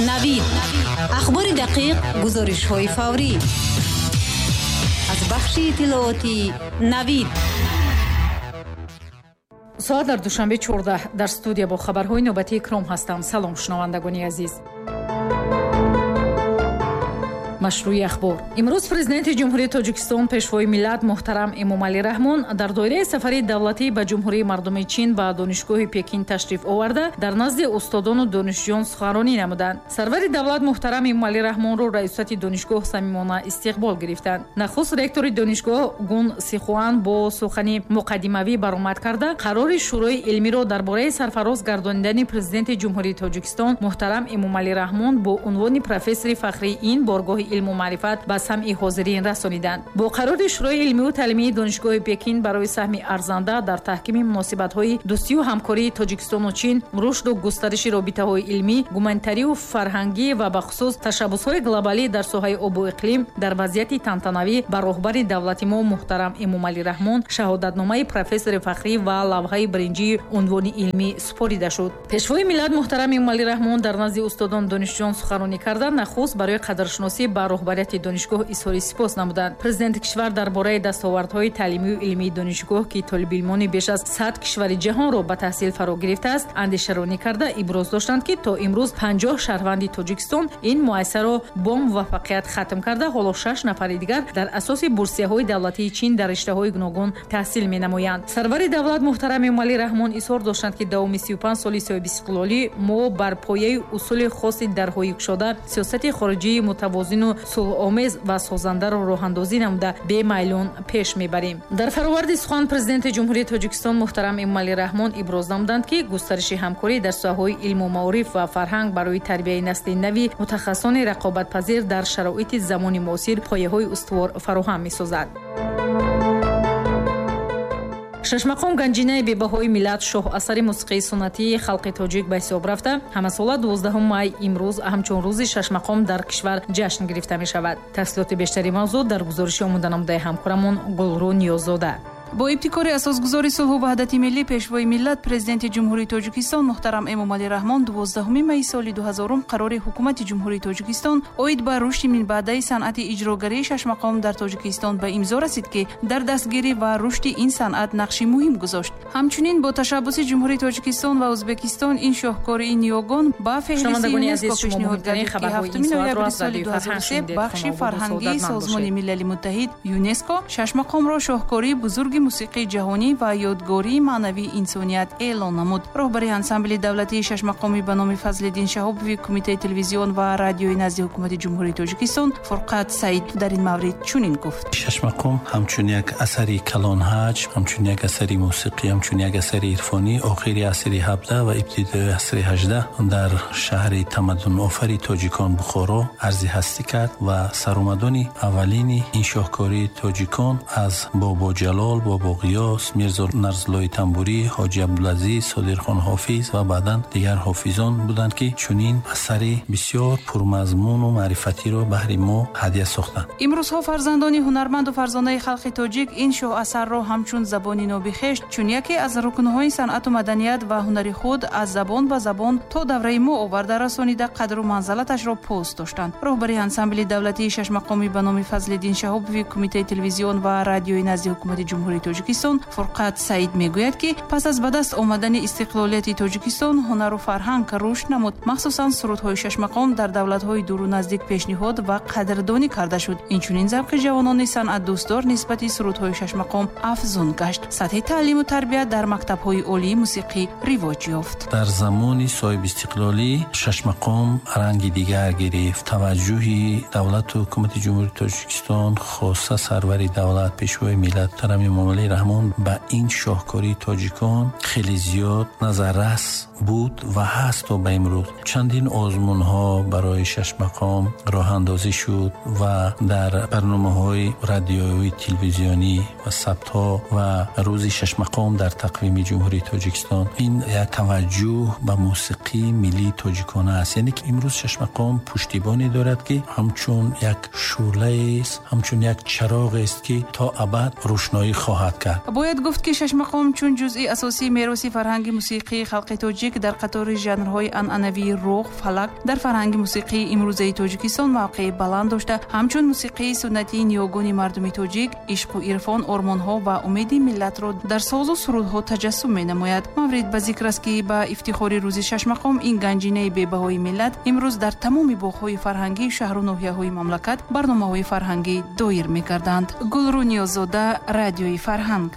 Навид, ахбори дақиқ, гузоришҳои фаврӣ аз бахши иттилоотии Навид. Соат дар Душанбе 14. Дар студия бо хабарҳои навбатии Икром ҳастам. Салом, шунавандагони азиз. Машрӯи ахбор. Имрӯз Президенти Ҷумҳурии Тоҷикистон, Пешвои миллат муҳтарам Эмомалӣ Раҳмон дар доираи сафари давлатӣ ба Ҷумҳурии Мардумии Чин ба Донишгоҳи Пекин ташриф оварда, дар назди устодону донишҷӯён суханронӣ намуданд. Сарвари давлат муҳтарам Эмомалӣ Раҳмонро раёсати донишгоҳ самимона истиқбол гирифтанд. Нахуст ректори донишгоҳ Гун Сихуан бо сухани муқаддимавӣ баромад карда, қарори Шӯрои илмиро дар бораи сарфароз гардонидани Президенти Ҷумҳурии Тоҷикистон муҳтарам Эмомалӣ Раҳмон бо унвони профессори фахрии ин боргоҳи илму маърифат ба самъи ҳозирин расониданд. Бо қарори Шӯрои илмию таълимии Донишгоҳи Пекин барои саҳми арзанда дар таҳкими муносибатҳои дӯстию ҳамкории Тоҷикистону Чин, рушду густариши робитаҳои илмӣ, гуманитарию фарҳангӣ ва бахусус ташаббусҳои глобалӣ дар соҳаи обу иқлим, дар вазъияти тантанавӣ ба роҳбари давлати мо муҳтарам Эмомалӣ Раҳмон шаҳодатномаи профессори фахрӣ ва лавҳаи биринҷии унвони илмӣ супорида шуд. Пешвои миллат муҳтарам Эмомалӣ Раҳмон дар назди устодон донишҷӯён суханронӣ карда, нахуст барои қадршиносӣ ба роҳбарияти донишгоҳ изҳори сипос намуданд. Президенти кишвар дар бораи дастовардҳои таълимию илмии донишгоҳ, ки толибилмони беш аз 100 кишвари ҷаҳонро ба таҳсил фаро гирифтааст, андешаронӣ карда, иброз доштанд, ки то имрӯз 50 шаҳрванди Тоҷикистон ин муассисаро бо муваффақият хатм карда, ҳоло 6 нафари дигар дар асоси бурсияҳои давлатии Чин дар риштаҳои гуногун таҳсил менамоянд. Сарвари давлат муҳтарам Эмомалӣ Раҳмон изҳор доштанд, ки давоми 35 соли соҳибистиқлолӣ мо бар пояи усули хоси дарҳои кушода сиёсати хориҷии мутавозину сулҳомез ва созандаро роҳандозӣ намуда, бемайлон пеш мебарем. Дар фароварди сухан Президенти Ҷумҳурии Тоҷикистон муҳтарам Эмомалӣ Раҳмон иброз намуданд, ки густариши ҳамкорӣ дар соҳаҳои илму маориф ва фарҳанг барои тарбияи насли нави мутахассисони рақобатпазир дар шароити замони муосир пояҳои устувор фароҳам месозад. Шашмақом ганҷинаи бебаҳои миллат, шоҳ асари мусиқии суннатии халқи тоҷик ба ҳисоб рафта, ҳамасола 12 май имрӯз ҳамчун рӯзи шашмақом дар кишвар ҷашн гирифта мешавад. Тафсилоти бештари мавзӯъ дар гузориши омоданамудаи ҳамкорамон Гулрӯ Ниёззода. Бо ибтикори асосгузори сулҳу ваҳдати миллӣ, Пешвои миллат, Президенти Ҷумҳурии Тоҷикистон муҳтарам Эмомалӣ Раҳмон 12 майи соли 2000 қарори Ҳукумати Ҷумҳурии Тоҷикистон оид ба рушди минбаъдаи санъати иҷрогарии шашмақом дар Тоҷикистон ба имзо расид, ки дар дастгирӣ ва рушди ин санъат нақши муҳим гузошт. Ҳамчунин бо ташаббуси Ҷумҳурии Тоҷикистон ва Ӯзбекистон ин шоҳкории ниёгон ба феҳристи ЮНЕСКО пешниҳод гардид, ки 7 ноябри соли 2003 бахши фарҳангии Созмони Милали Муттаҳид ЮНЕСКО шашмақомро шоҳкории бузурги мусиқии ҷаҳонӣ ва ёдгории маънавии инсоният эълон намуд. Роҳбари ансамбли давлатии шашмақомӣ ба номи Фазлиддин Шаҳобови Кумитаи телевизион ва радиои назди Ҳукумати Ҷумҳурии Тоҷикистон Фурқат Саид дар ин маврид чунин гуфт: Шашмақом ҳамчун як асари калонҳаҷм, ҳамчун як асари мусиқӣ, ҳамчун як асари ирфонӣ охири асри 17 ва ибтидои асри 18 дар шаҳри тамаддунофари тоҷикон Бухоро арзи ҳастӣ кард ва саромадони аввалини ин шоҳкории тоҷикон аз Бобо Ҷалол, Бобо Ғиёс, Мирзо Нарзуллои Тамбурӣ, Ҳоҷи Абдулазиз, Содирхон Ҳофиз ва баъдан дигар ҳофизон буданд, ки чунин асари бисёр пурмазмуну маърифатиро баҳри мо ҳадя сохтанд. Имрӯзҳо фарзандони ҳунарманду фарзонаи халқи тоҷик ин шоҳасарро ҳамчун забони ноби хеш, чун яке аз рукнҳои санъату маданият ва ҳунари худ аз забон ба забон то давраи мо оварда расонида, қадру манзалаташро пос доштанд. Роҳбари ансамбли давлатии шашмақомӣ ба номи Фазлиддин Шаҳобови Кумитаи телевизион ва радиои назди Ҳукумати Ҷумҳурии Тоҷикистон Фурқат Саид мегӯяд, ки пас аз ба даст омадани истиқлолияти Тоҷикистон ҳунару фарҳанг рушд намуд. Махсусан сурудҳои шашмақом дар давлатҳои дуру наздик пешниҳод ва қадрдонӣ карда шуд. Инчунин завқи ҷавонони санъатдӯстдор нисбати сурудҳои шашмақом афзун гашт. Сатҳи таълиму тарбия дар мактабҳои олии мусиқӣ ривоҷ ёфт. Дар замони соҳибистиқлолӣ шашмақом ранги дигар гирифт. Таваҷҷӯҳи давлату ҳукумати Ҷумҳурии Тоҷикистон, хоса сарвари давлат, Пешвои миллат муҳтарам Эмомалӣ Раҳмон ба ин шоҳкории тоҷикон хеле зиёд назаррас буд ва ҳаст то ба имрӯз. Чандин озмунҳо барои шашмақом роҳандозӣ шуд ва дар барномаҳои радиоӣ, телевизионӣ ва сабтҳо ва рӯзи шашмақом дар тақвими Ҷумҳурии Тоҷикистон ин як таваҷҷӯҳ ба мусиқии миллии тоҷикона аст. Яъне ки имрӯз шашмақом пуштибоне дорад, ки ҳамчун як шӯълаест, ҳамчун як чароғест, ки то абад рӯшноӣ хоҳад хоҳад кард. Бояд гуфт, ки шашмақом чун ҷузъи асосии мероси фарҳанги мусиқии халқи тоҷик дар қатори жанрҳои анъанавии руғ, фалак дар фарҳанги мусиқии имрӯзаи Тоҷикистон мавқеи баланд дошта, ҳамчун мусиқии суннатии ниёгони мардуми тоҷик ишқу ирфон, ормонҳо ва умеди миллатро дар созу сурудҳо таҷассум менамояд. Маврид ба зикр аст, ки ба ифтихори рӯзи шашмақом ин ганҷинаи бебаҳои миллат имрӯз дар тамоми боғҳои фарҳангии шаҳру ноҳияҳои мамлакат барномаҳои фарҳангӣ доир мекарданд. Гулрӯ Ниёззода, Радиои Фарҳанг.